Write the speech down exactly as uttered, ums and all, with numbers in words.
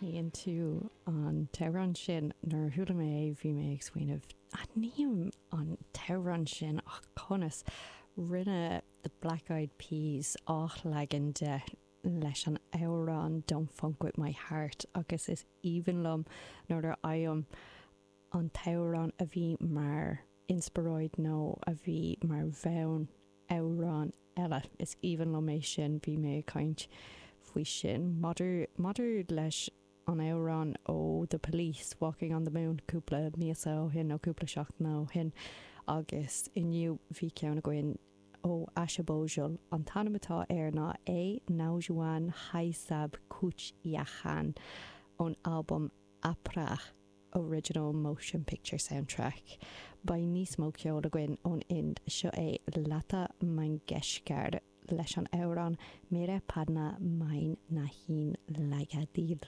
Aithníonn tú an t-amhrán sin nuair a chuala mé é bhí mé ag smaoineamh aithním an t-amhrán sin ach conas rinne the Black Eyed Peas athleagan de leis an amhrán Don't Funk With My Heart agus is aoibhinn liom nuair a fhaighim an t-amhrán a bhí mar inspioráid nó a bhí mar bhonn amhrán eile is aoibhinn liom é sin bhí mé ag caint faoi sin maidir maidir leis an amhrán ó The Police Walking on the Moon cúpla míosa ó shin nó cúpla seachtain ó shin agus inniu bhí ceann againn ó Asha Bhosle an t-ainm atá air ná Ae Naujawan Hai Sab Kuch Yahan ón albam Apra Original Motion Picture Soundtrack. Beidh níos mó ceol againn ón Ind seo é Lata Mangeshkar leis an amhrán Mere Padna Mein Nahin Laga Dil.